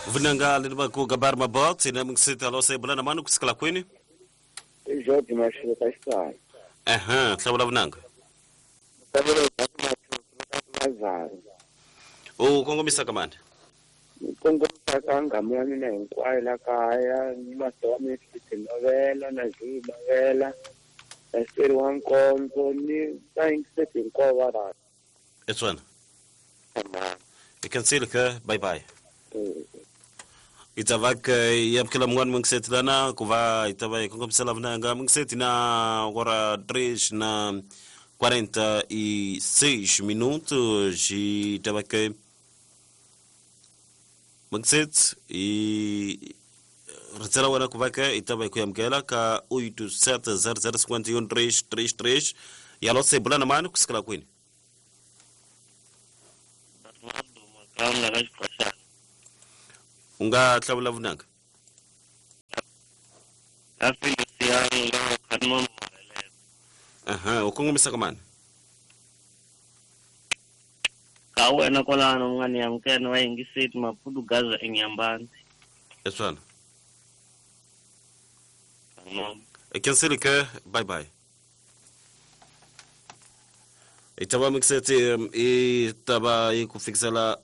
Vunanga leri va ku gabar mabot ina mingisita lo se bulana mani kusikela kwini? I George Mashilo ka xitswana. Ehe, hlawula vunanga. Mazaro. U kongomisa ka mani? Ni kongomisa ka nghamu ya mina hinkwayo la kaya, ni master wa mina Tinovela na Zulu Mavela, na Xiteri wa Nkondzo ni vayingiseti hinkwavo va rhandza. Etswana. I cancel ka bye bye. Itavak yamukela mun'wana mungiseti lana ku va hi ta va hi kongomisela vunanga mungiseti na ora 3 na 46 minutos hi ta va ke mungiseti hi ritsela wena ku va ke hi ta va hi ku yamukela ka 87 00 3 3 3 yalo se bulana mani kusukela kwini? U nga hlawula vunanga? Aha, u kongomisa ka mani? Ka wena kwalano u nga ni amukela va yingiseti Maputo Gaza eNyambani. Eswana. Cancel ke bye bye. I ta va mixeti i ta va yi ku fikisela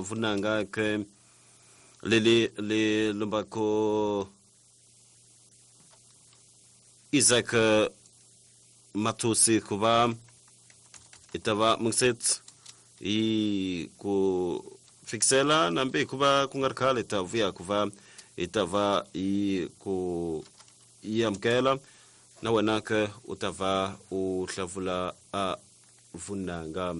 vunanga ke leli le lombako Isaac Mathusi ku va i ta va mixeti yi ku fikisela nambe hikuva ku nga ri khale ta vuya ku va hi ta va yi ku yi amukela na wena ke u ta va u hlavula a vunanga.